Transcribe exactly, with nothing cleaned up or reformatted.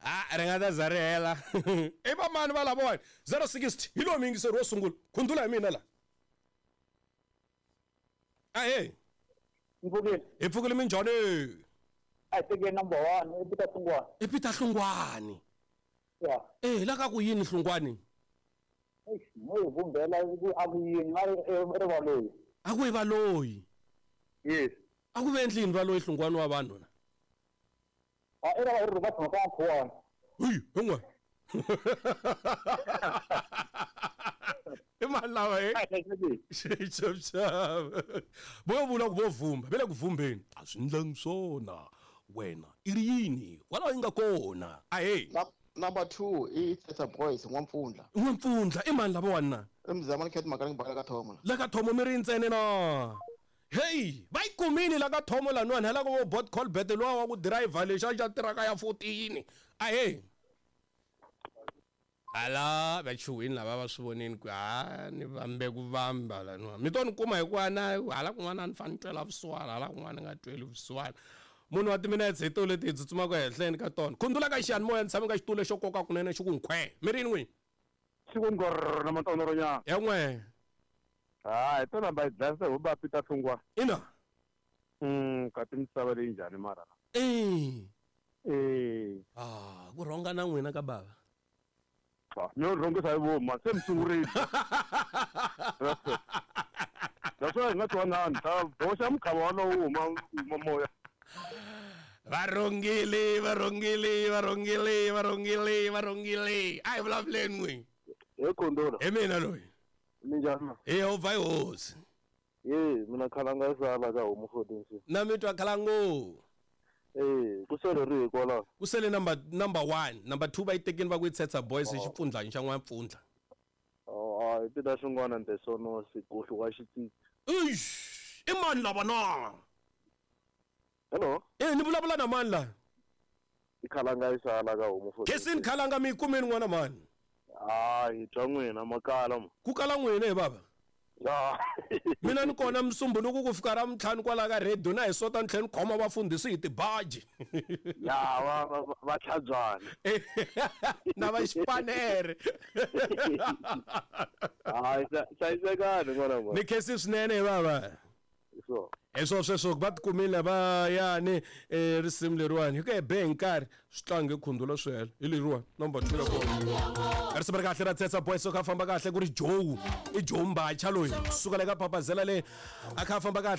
A ri nga ta za ri hela. I vamani va lavawani? zero sixty hi lowu muyingiseri wo sungula. Khundula hi mina la. Ahee. Mpfukile. Hi pfukile minjhani? A hi teke number one i Peter Hlungwani. I Peter Hlungwani. Ya. Eh, la ka ku yini Hlungwani? Eish, mo hi vumbela ku a ku yini nga ri ri valoyi. A ku i valoyi. Yes. A ku ve endlini valoyi Hlungwani wa vanhu na? A i ra ri va tshama ka Nkhuwani. Hey, hin'we. I mani lava he? Xaxava. Vo vula ku vo vumba, ve le ku vumbeni. A swi ndlangi swona. Wena i ri yini? Kwalaho yi nga kona. Ahee. Number two i Tsetsa Boys N'wampfundla. N'wampfundla i mani lavawani na? I Mzamani Cat Makaleng Bala ka Thomo. La ka Thomo mi ri ntsena na? Hey, va yi kumile la ka Thomo laniwani hala ka vo bot Colbert luwa wa ku driver lexa xa tiraka ya fourteen. Ahee. Hala va chuhwini lava va swi vonini ku ha ni vambe ku vamba laniwa. Mi to ni kuma hikuva na hala kun'wana a ni fane ni twela vusiwana hala kun'wana ni nga tweli vusiwana. Munhu wa timinetse hi to leti hi tsutsumaka ehenhleni ka tona. Khundula ka xiyanimoya ni tshame ka xitulu xo koka kunene xi ku nkhwe. Mi ri yini n'wini? Xi ku ngorr na matonoro nyana. Ya n'we. Ha, hi tona va yi dlayisa hi va Peter Hlungwani. Ina. Mm, kasi misava leyi njhani mara? Eh. Eh. Ah, ku rhonga na n'wina ka bava. Mi yo rhongisa hi vomu, se mi sungurile. Naswona hi nga twanani, ta boxa mukhava walowo wu huma huma moya. Va rhongile, va rhongile, va rhongile, va rhongile, va rhongile. A hi vulavuleni n'wini. He Khondolo. Hi mina loyi. Minjhani? Hi Yehovha hi hosi. Ye, mina khalanga yi sala ka homu fourteen. Na mi twa khalango. Eh, ku sele ri hi kwalaho. Ku sele number number one, number two va yi tekeni va ku yi Tsetsa Boys hi xipfundlani xa N'wampfundla. Oh, hayi Peter Hlungwani and the Sonos gohlu wa xitsitsi. Eish, i mani lava na? Hello. Eh, ni vulavula na mani la? I khalanga yi sala ka homu fourteen. Khesini khalanga mi yi kumeni n'wana mani? Hayi, twa n'wina makala mo. Ku kala n'wina he bava? Ya. Mina ni kona musumbhunuku ku fika ra mintlhanu kwala ka radio na hi sota ni tlhela ni khoma vafundhisi hi tibaji. Ya, va va va tlhabyana. Na va xipanere. Hayi, hlayisekani n'wana mani. Ni khensi swinene he bava. So. Hi swo sweswo va tikumile va yani eh risimu leriwani hi ku hi be hi nkarhi swi tlange khundula swi hela hi leriwani number two ya kona. Risimu ri kahle ra Tsetsa Boys so kha famba kahle ku ri Joe i Joe Mbacha loyi suka le ka Papazela le a kha famba kahle.